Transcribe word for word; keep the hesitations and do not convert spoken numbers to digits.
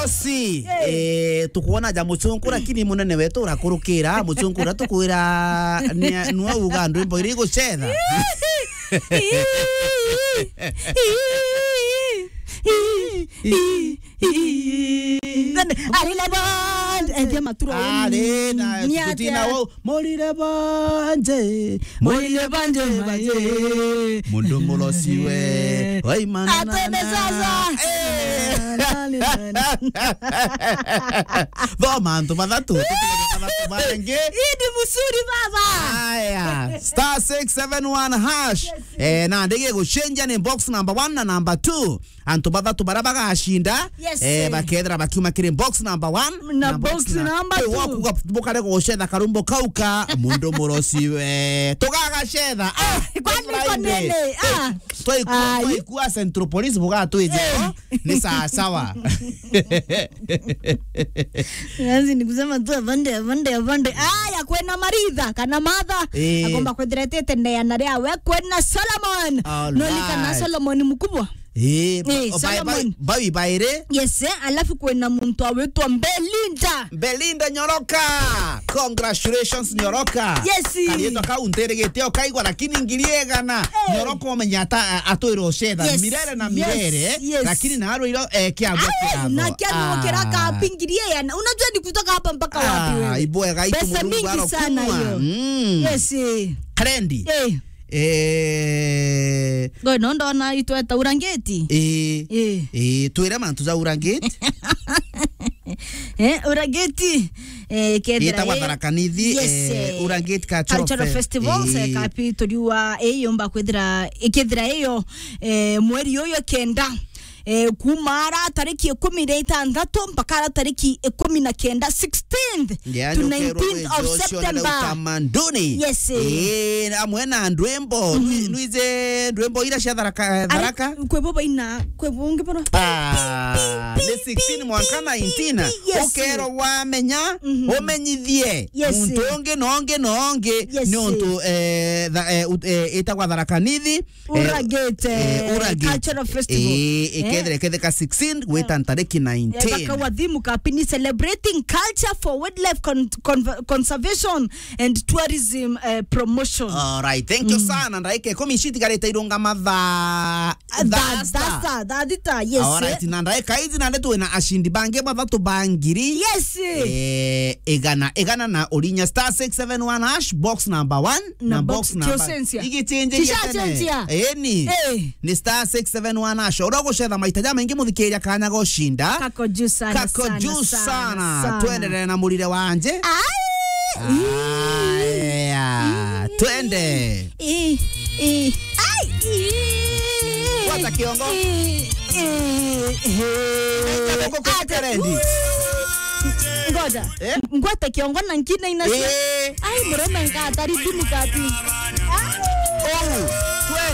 Si, eh, tukwona ja mucunku, lakini munene wetu urakurukira, mucunku uria tukwira ni, nwe uga ndwimbo iria igucetha. Ari na band, endia maturo. Ari na, ni atia? Tutina wau. Murire banje, murire banje, banje. Mundu murosi we. Oi, mana, atene mana, sasa. Eh. Thoma antu bathatu, tutige bathatu bangi. Idi Musuri baba. Aya, star six seven one hash. Yes. Eh, na ndege gucenjia ni box number one na number two. Antu bathatu baria bagacinda, yes, eh, bakethira bakiuma kiri box number one na box number two. Riu wakuga bukare gucetha karumbo kau ka mundu murosi we. Tugagacetha. Ah, kwani Friday. Kwa nini? Ah. Twaikua, ai, twaikua Central Police bugatwije. Eh. Ni sawa sawa. Yaani ni kusema tu afande, afande, afande. Aya, kwena Maritha, kana Martha. Eh. Akomba kwithira etete neana riawe, kwena Solomon. All right. Noni kana Solomon mkubwa? Eh, eh, ba-, ba-, Solomon. Bawi bairi. Yes, eh, alafu kwena muntu awitwa Belinda. Belinda Nyoroka. Congratulations, Nyoroka. Yes. Karietwa kau ntirigite ukaigwa, lakini ngiri igana. Eh. Nyoroka umenya ata, a-, atwire ucetha. Yes, mirere na yes, mirere, yes. Lakini na arwiro, eh, kiago. Ai, kiago. Na kiago, ah, kiraka wapi ngiri igana? Unajua ni kutoka hapa mpaka wapi wewe? Ah, ibwega itu. Pesa Murungu mingi sana arokumwa. Hiyo. Mm. Yes, eh. Rendi. Eh. Eh. Ngo no ndona itweta urangiti. Eh. Eh. Eh, twire mantu ja urangiti. Eh, urangiti. Eh, kethira itagwa i Tharaka Nithi, yes, eh, eh, urangiti cultural, cultural fe-, festivals, eh, eh, kapi turiwa, eh, yomba kwithira, ikethira iyo, eh, mweri uyu kenda. Eh, kuma ara tariki ikumi na itantatu mpaka ara tariki ikumi na kenda, sixteenth to nineteenth of September. Yaani ukerwa wiji ucio na utamaduni. Yes, eh. Eh, amwe na ndwimbo, mhm, nwi-, nwije ndwimbo ira cia Tharaka, eh, Tharaka? Kwe bo baina, kwe bo ungi bono. Ah, ni sixteen mwanka nineteen. Yes. Ukerwa wamenya, mhm, umenyithie. Yes. Muntu ungi na ungi na ungi. Yes. Ni untu, eh, tha-, eh, ut-, eh, itagwa Tharaka Nithi. Eh, uragite, eh, uragite. Cultural festival. Eh, eh, ikethira, iketheka sixteen, gwita ntariki nineteen. Eh, bakawa thimu kapini celebrating culture for wildlife con-, con-, conservation and tourism, eh, promotion. All right, thank you, mm, sana. Ndaika ikumi citigarite irungama thaa, tha-, thaa sita. Thaa sita, thaa sita, yes. All right, na ndaika ici nandi twina ashindi bangi bathatu ba ngiri. Yes. Eh, igana, igana na urinya star six seven one hash, box number one. Na box number. Igichenjia tene. Eni. Eh. Ni star six seven one hash. Uria ugucetha maita jamaingi muthikiria kanya gushinda. Kako juu sana, kako juu sana. Tuendelee na murire wanje. Ai. Aya. Twende. Eh, eh. Ai. Gwata kiongo. Eh, eh, eh. Ata rendi. Ngoja. Eh? Ngwate kiongo na nkina inacio. Eh. Ai, murume nkatari thimu kati. Ai. Oh.